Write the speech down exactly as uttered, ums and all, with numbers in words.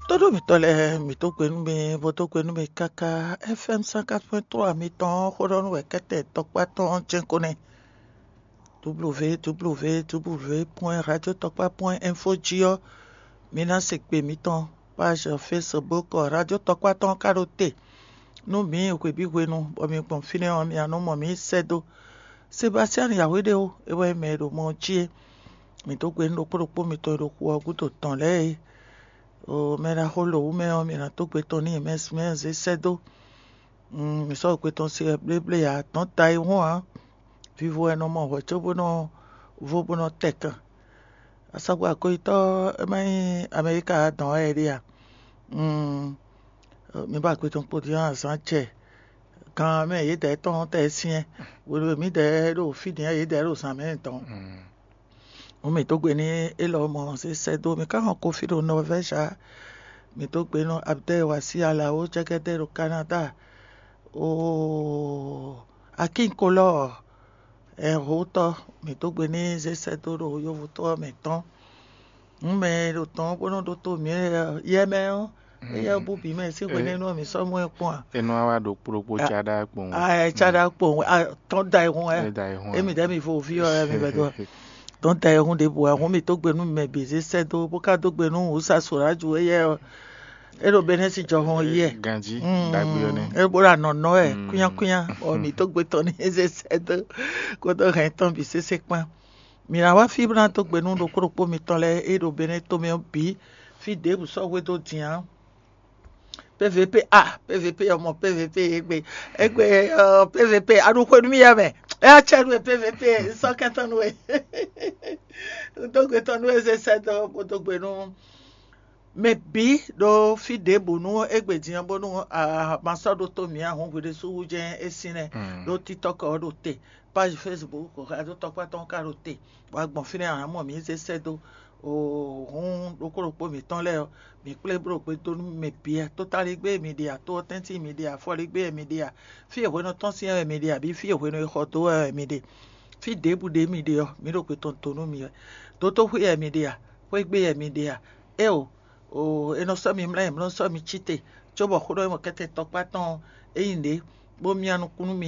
Tóɖó mǐtɔn lɛ́ɛ, mǐ dó gbe nú mi, bó dó gbe nú mi káká. F M cent quatre point trois mitɔn ɔ́, xó ɖɔ nú wɛ kɛ́tɛ́ tɔkpá tɔn ɔ́ jɛ́n ko nɛ́. W W W point radio tɔkpá point info jí ɔ́, mi ná se gbe mǐtɔn. Page Facebook Radio Tɔkpá tɔn ka ɖo te nú mǐ hwebǐ hwenu, bɔ mi gbɔn fínɛ́ ɔ́, mi ná nɔ mɔ mǐ sɛ́ dó. Sebastian Yahweh ɖe ó, é wɛ nyí mɛ e ɖo mɔ ɔ́ jí é. Mǐ dó gbe nú ɖokpó ɖokpó mitɔn e ɖo xu ɔ́ gúdo tɔn lɛ́ɛ é. O mɛ ɖaxó lǒwú mɛ ɔ́, mi ná dó gbe tɔn n'i, mɛ mɛ zé sɛ́ dó. Mm, mǐ sɔ́ gbe tɔn se wɛ bléblé ǎ, dɔ̌n ta e hɔn ǎ. Vivo wɛ nɔ mɔ hwɛ̌ có bó nɔ vo bó nɔ tɛ kan. Asɔgbɔ akwɛ́yítɔ́ é má nyí Amɛlíka dɔn wɛ é ɖe a? Mm, mi ba gbe tɔn kpo dín azǎn jɛ gan mɛ yědɛɛ tɔn tɛ syɛ́n. Hwenu e mǐdɛɛ ɖo fí din ɔ́, yědɛɛ ɖo zǎn mɛ tɔn. Hǔn mǐ dó gbe n'i élɔ́ mɔ zé sɛ́ dó. Mǐ ka hɔn Kofi ɖo Nɔvɛ́zi ǎ. Mǐ dó gbe nú Abdɛ́ Wasí Alawo jɛgɛdɛ ɖo Kanada. Oo, Akínkolɔ́ɔ, ɛhotɔ́, mǐ dó gbe n'i zé sɛ́ dó ɖo yovótɔ́ ɔ́ mɛ tɔn. Hǔn mɛ e ɖo tɔn ɔ́ bó nɔ́ ɖótó mǐ yɛ mɛ ɔ́, éyɛ́ ɔ́ bú bǐ mɛ sín hwenɛ́nu ɔ́, mǐ sɔ́ mɔ ɛ kpɔ́n a? É nɔ wá ɖo kplokpó cá ɖá kpowun. A ɛ cá ɖá kpowun, a tɔ́n da ayihun wɛ. É da ayihun wɛ. Émi ɖɛ́ mi vo ví ɔ́ wɛ mi vɛ dó. Tɔ́n da ayihun ɖěbǔ wɛ, hǔn mǐ dó gbe nú mɛ bǐ zé sɛ́ dó, bó ka dó gbe nú wǔsá Soraju éyɛ́ ɔ́. É ɖo Benɛ́si jɔhɔn yɛ. Ganjí, Mm, ɖagbe ɔ́ nɛ́. É bó ɖo anɔ nɔ wɛ Mm. Kúnyákúnyá, bɔ mǐ dó gbe tɔn ní é zé sɛ́ dó kódó hɛn tɔn bǐ sésé kpán. Mǐ ná wá fí bó ná dó gbe nú ɖokpó ɖokpó mitɔn lɛ́ɛ e ɖo Benɛ́ tomɛ ɔ́ bǐ, fí ɖěbǔ sɔ́ hwedó din ǎ. P V P a, P V P ɔ́ mɔ P V P égbé, égbé ɔ́, P V P a ɖo xwe nú mì yɛ mɛ. É acɛ nú we P V P, sɔ́ kɛntɔ́ nú we. Dó gbe tɔn nú we zé sɛ́ dó bó dó gbe nú mɛ bǐ ɖo fí ɖěbǔ nú égbé din ɔ́, bónú a ma sɔ́ ɖótó mǐ ǎ hǔn hwi ɖésú wú jɛ́n é sín nɛ́. Ɖó TikTok ɔ́ ɖo te, page Facebook Radio Tɔkpá tɔn ka ɖo te, bɔ a gbɔn fínɛ́ ǎ, mɔ mǐ zé sɛ́ dó. Oo, hǔn ɖokpó ɖokpó mǐtɔn lɛ́ɛ ɔ́, mǐ kplé bló gbe dó nú mɛ bǐ wɛ. Tótáligbé e mi ɖe a, tó ɔ́ tɛ́ntin mi ɖe a, afɔligbé e mi ɖe a, fí e hwenu tɔn syɛ́n wɛ mi ɖe a, abǐ fí e hwenu e xɔ dó wɛ wɛ mi ɖe, fí ɖěbǔ ɖě mi ɖe ɔ́, mǐ ɖo gbe tɔn dó nú mi wɛ. Dótóxwé wɛ mi ɖe a, xwégbé wɛ mi ɖe a? Éeǒ, oo, è nɔ sɔ́ mi mlɛ́, è nɔ sɔ́ mi cí te, cóbɔ xó ɖɔ e mɔ kɛ́tɛ́ tɔkpá tɔn ɔ́, é nyí nǔɖé, bó myá nukún nú mi.